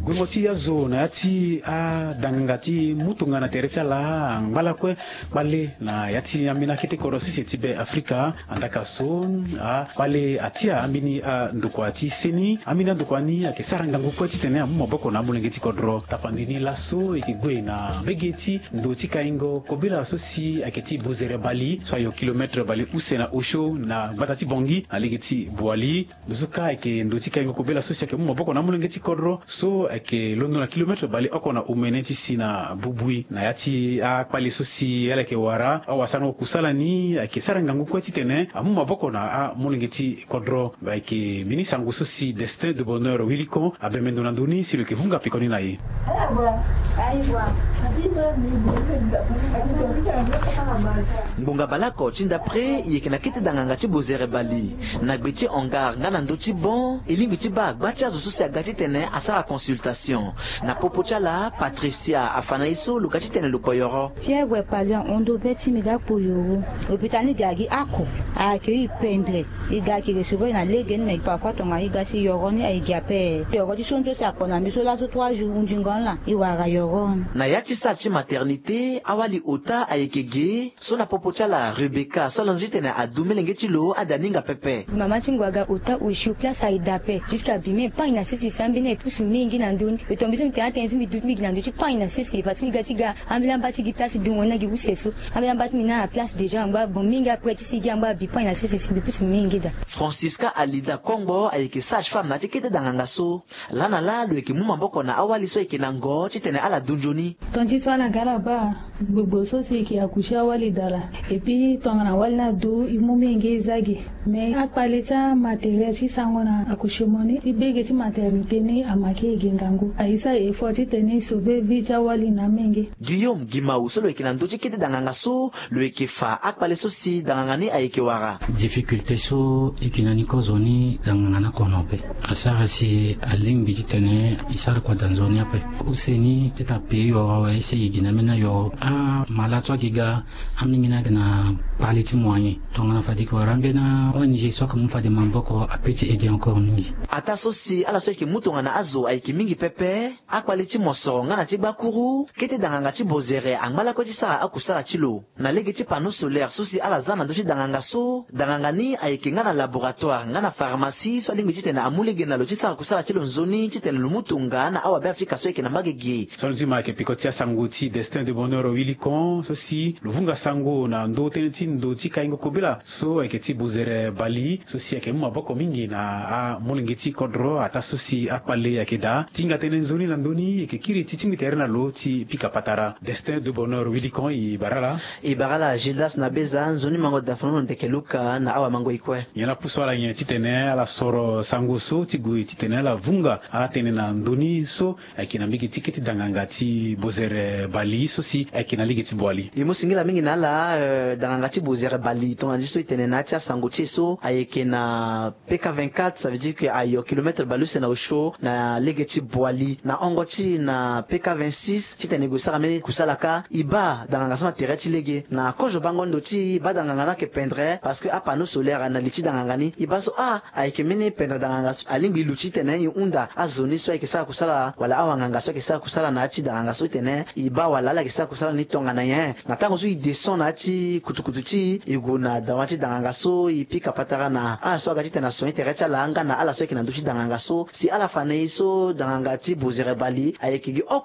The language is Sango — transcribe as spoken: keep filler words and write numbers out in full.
Guengo ti azo na ya ti adanganga ti mu tongana tere ti ala angba lakue kpale na ya ti ambeni akete kodro sese ti be Afrika. Andaka so akpale atia ambeni andokua ti seni. Ambeni andokua ni ayeke sara ngangu kue titene amu maboko na amolenge ti kodro. Tapandi ni laso e yeke gue na mbege ti ndo ti kaingo kobela so si ayeke ti Bozere Bali so ayo kilometre bale use na osio na gbata ti Bangui na lege ti Boali. Ndo so kâ ayeke ndo ti kaingo kobela so si ayeke mu maboko na amolenge ti kodro so ayeke londo na kilometre bale oko na omene ti si na Bubui. Na ya ti akpale so si ala yeke wara awasango kusala ni ayeke sara ngangu kue titene amu maboko na amolenge ti kodro. Ayeke mbeni sango so si Destin de Bonheur Wilikon abembe ndo na ndö ni si lo yeke vunga pekoni na e. Ngbonga baleoko ti ndapre e yeke na kete danganga ti Bozere Bali na gbe ti hangar nga na ndö ti bon e lingbi ti baa gba ti azo so si aga titene asara consultation. Na popo ti ala Patricia afa na e so lo ga titene lo kpo yoro. Fièvre pali ahon ndo be ti mbi ga kpo yoro. Hôpital ni ga gi ako. Ayeke e pendre. E ga e yeke recevoir na lege ni me parfois tongana e ga si yoro ni aye gi ape. Yoro ti so nzo si ako na mbi so laso trois jours hundingo ni laa e wara yoro ni. Na ya ti salle ti maternité awali ota ayeke ge so na popo ti ala Rebecca so ala nzo titene adu melenge ti lo ade aninga pepe. Mama ti ngu aga ota osio place aye daa ape. Puisque abi me pagne na sese si ambeni aye pusu mingi na ndö ni. Lo tongana mbi so mbi tene atene so mbi du ti mbi gi na ndö ti pagne na sese parce que mbi ga ti ga ambeni amba ti gi place dungo ni na gi use so. Ambeni amba ti mbi ni ala place déjà angba bon mingi après ti si gi angba abi pagne na sese si mbi pusu mingi daa. Francisca Alida Kongbo ayeke sage femme na ya ti kete danganga so. Laa na laa lo yeke mu maboko na awali so ayeke na ngo titene ala du nzoni. Ton ti so ala ga ala baa gbogbo so si e yeke accoucher awali daa laa. Et puis tongana awali ni adu e mu mingi e za gi. Mais akpale ti amatériel ti sango na accouchement ni ti bege ti maternité ni amanke e gi ngangu. Aye sara effort titene e sauver vie ti awali na mingi. Guillaume Gimau so lo yeke na ndö ti kete danganga so lo yeke fa akpale so si danganga ni ayeke wara. Difficulté so e yeke na ni kozo ni danganga ni akono ape. Asara si alingbi titene e sara kua daa nzoni ape. Use ni ti ta pei yoro awe si e gi na mbeni ayoro. Amalade so ayeke ga, amolenge ni ayeke na kpale ti moyen. Tongana fade e yeke wara ambeni a-O N G so ayeke mu fade maboko ape ti aide encore mingi. Ataa so si ala so ayeke mu tongana azo ayeke mingi pepe. Akpale ti mosoro nga na ti gbakuru kete danganga ti Bozere angba lakue ti sara akusala ti lo. Na lege ti panneau solaire so si ala za na ndö ti danganga so, danganga ni ayeke nga na laboratoire nga na pharmacie so alingbi titene amu lege na lo ti sara kusala ti lo nzoni titene lo mu tonga na awabe Afrika so ayeke na mbage ge. So alondo ti ma ayeke peko ti asango ti Destin de Bonheur Wilikon so si lo vunga sango na ndö tënë ti ndo ti kaingo kobela so ayeke ti Bozere Bali so si ayeke mu maboko mingi na amolenge ti kodro ataa so si akpale ayeke daa. Tinga tënë nzoni na ndö ni e yeke kiri ti tingbi tere na lo ti pika patara. Destin de Bonheur Wilikon, e bara ala. E bara ala Gildas na Beza, nzoni mango da fanono ndeke Luka na awamango e kue. Nyen apusu ala nyen titene ala soro sango so ti gue titene ala vunga atënë na ndö ni so ayeke na mbege ti kete danganga ti Bozere Bali so si ayeke na lege ti Boali. E mu singila mingi na ala, eh, danganga ti Bozere Bali tongana nzi so e tene na ya ti asango ti e so ayeke na P K vingt-quatre, ça veut dire que ayo kilomètre bale use na osio na lege ti Boali. Na hongo ti e na P K vingt-six titene e gue sara mbeni kusala kâ. E baa danganga so na tere ti lege. Na kozo bango ndo ti e, e baa danganga ni ayeke pendre parce que apanneau solaire na li ti danganga ni. E baa so ah, ayeke mbeni pendre danganga so alingbi e luti titene e hunda azo ni so ayeke sara kusala wala awanganga so ayeke sara kusala na ya ti danganga so titene e baa wala ala yeke sara kusala ni tongana nyen. Na tango so e descend na ya ti kutukutu ti e, e gue na dawa ti danganga so, e pika patara na ala so aga titene asoni tere ti ala nga na ala so ayeke na ndö ti danganga so si ala fa na e so danganga ti Bozere Bali ayeke gi oko.